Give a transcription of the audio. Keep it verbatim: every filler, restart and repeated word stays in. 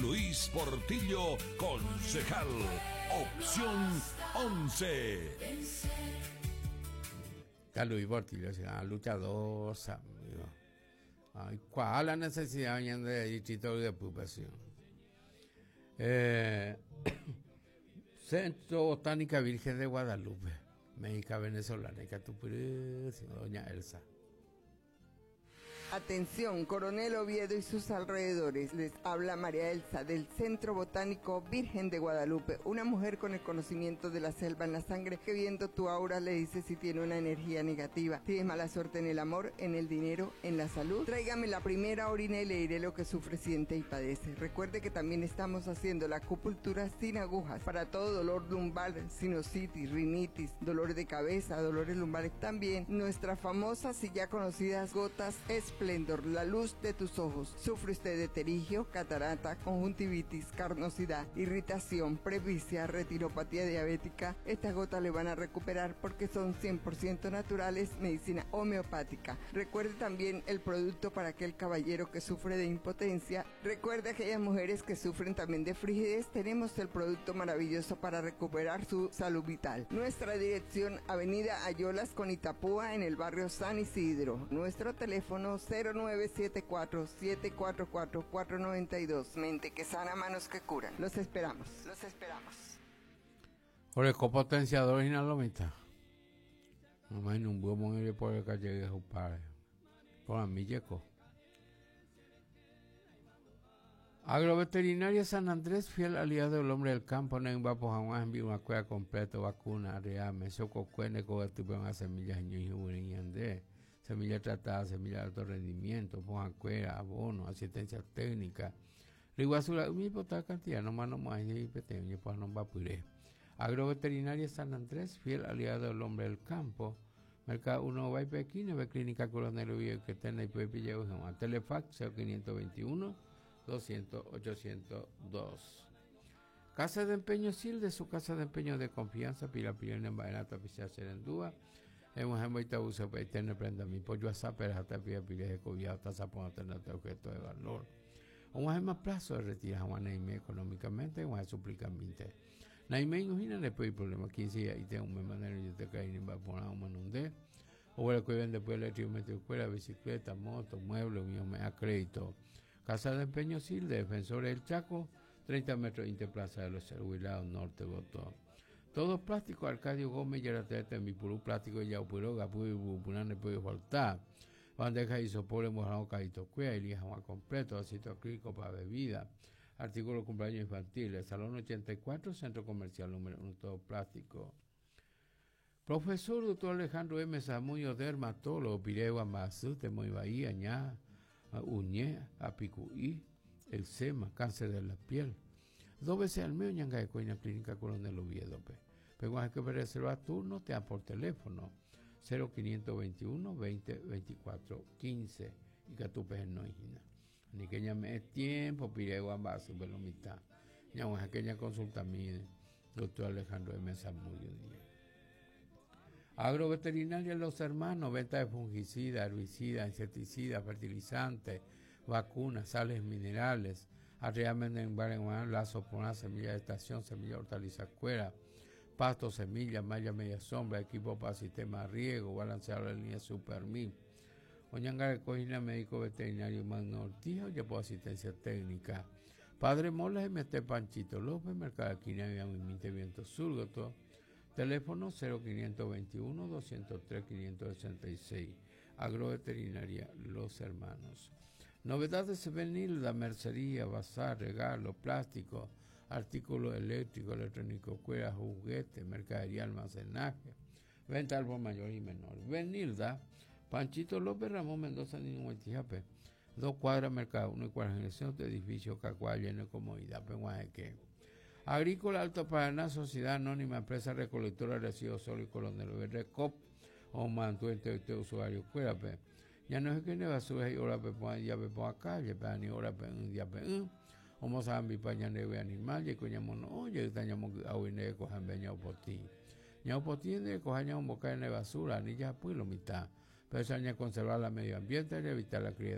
Luis Portillo, concejal. Opción once. Está Luis Portillo, se luchador, amigo. Ay, ¿cuál la necesidad de distrito de ocupación? Eh, Centro Botánica Virgen de Guadalupe, México, Venezolana, doña Elsa. Atención, Coronel Oviedo y sus alrededores. Les habla María Elsa del Centro Botánico Virgen de Guadalupe, una mujer con el conocimiento de la selva en la sangre que viendo tu aura le dice si tiene una energía negativa. Tienes mala suerte en el amor, en el dinero, en la salud. Tráigame la primera orina y le diré lo que sufre, siente y padece. Recuerde que también estamos haciendo la acupuntura sin agujas para todo dolor lumbar, sinusitis, rinitis, dolor de cabeza, dolores lumbares. También nuestras famosas y ya conocidas gotas Esplendor, la luz de tus ojos. Sufre usted de pterigio, catarata, conjuntivitis, carnosidad, irritación, presbicia, retinopatía diabética. Estas gotas le van a recuperar porque son cien por ciento naturales, medicina homeopática. Recuerde también el producto para aquel caballero que sufre de impotencia. Recuerde aquellas mujeres que sufren también de frigidez. Tenemos el producto maravilloso para recuperar su salud vital. Nuestra dirección, Avenida Ayolas con Itapúa, en el barrio San Isidro. Nuestro teléfono cero nueve siete cuatro, siete cuatro cuatro, cuatro noventa y dos. Mente que sana, manos que curan. Los esperamos, los esperamos. Oreko potenciador y la mitad. No me un buen momento por el que llegue a su padre. Por a mí llegó. Agroveterinaria San Andrés, fiel aliado del hombre del campo, no va por jamás enviar una cueva completa, vacuna, reame, soco, cuene, cobertura, semillas, ñuy, y andé. Semilla tratada, semilla de alto rendimiento, cuera, abono, asistencia técnica. Riguazura, mi potada cantidad, no más no más, y peteño, pues no va a puré. Agroveterinaria San Andrés, fiel aliado del hombre del campo. Mercado uno va y Pekín, ve Clínica Coronel Oviedo, que está en la I P P, Telefax, cero quinientos veintiuno, doscientos, ochocientos dos. Casa de Empeño Sil, de su casa de empeño de confianza, Pila Pilena en Baenata, Pisa Serendúa. Hemos hemos uso para tener prenda mi pollo a saper hasta pie pile de cobija hasta sapón hasta objeto de valor. Un más plazo de retirar a Juan económicamente, un suplicamente. Naime imagina le puede problema quince días y tengo un manera yo te caí en va por un manunde. O bueno que vende pues electro escuela, bicicleta, moto, mueble, mío me a crédito. Casa de Empeño Sil, de Defensores del Chaco, treinta metros Interplaza de los Huilados Norte, Botó. Todo plástico, Arcadio Gómez, Yaratete, mi purú plástico, Yaupuro, Gapu, Bupurán, le puede faltar. Bandeja y sopor, mojado, caíto, cuea, elija más completo, aceite acrílico para bebida. Artículo cumpleaños infantil, Salón ochenta y cuatro, Centro Comercial número uno, todo plástico. Profesor doctor Alejandro M. Zamudio, dermatólogo, Piregua, Mazú, Temoy Bahía, Ña, Uñé, Apicuí, eczema, cáncer de la piel. Dos veces al mes, ñanga de Coina Clínica Coronel Oviedo, pe. Pero hay que reservar turno, te dan por teléfono cero quinientos veintiuno, veinte, veinticuatro, quince y que tu peje no hijina. Ni que llame es tiempo, piregua, base, pero mitad. Ña, aquella consulta mide, doctor Alejandro M. Zamudio Díaz. Agroveterinaria Los Hermanos, venta de fungicidas, herbicidas, insecticidas, fertilizantes, vacunas, sales minerales. Arriamen en Barenguan, lazo por una semilla de estación, semilla hortaliza cuera, pasto, semilla, malla media sombra, equipo para sistema de riego, balanceado la línea Supermil. Oñanga Cojina, médico veterinario Magno Ortiz, oye por asistencia técnica. Padre Mola, M T Panchito López, Mercado de Quina, Viento Viento Sur, todo. Teléfono cero quinientos veintiuno, doscientos tres, quinientos sesenta y seis. Agroveterinaria Los Hermanos. Novedades Benilda, mercería, bazar, regalo, plástico, artículos eléctricos, electrónico, cuera, juguete, mercadería, almacenaje, venta al por mayor y menor. Benilda, Panchito López, Ramón Mendoza, Nino Huetijape, dos cuadras, Mercado uno y cuarenta de edificio Cacuá, lleno de comodidad, Penguajeque. Agrícola Alto Paraná, Sociedad Anónima, Empresa Recolectora de Residuos Sólidos, Coronel Oviedo, Recop, o mantuente de usuario, cuérape. Ya no es que ne basura y ora pe pon ya pe pon acá, ya pe ni ora pe un día pe un. O mo sa mi pa ñane ve animal, ye coña mono, oye, taña mo a ne cojan beña o poti. Ña o poti ne cojan ña un boca ne basura, ni ya pues lo mitad. Pero eso aña conservar la medio ambiente y evitar la cría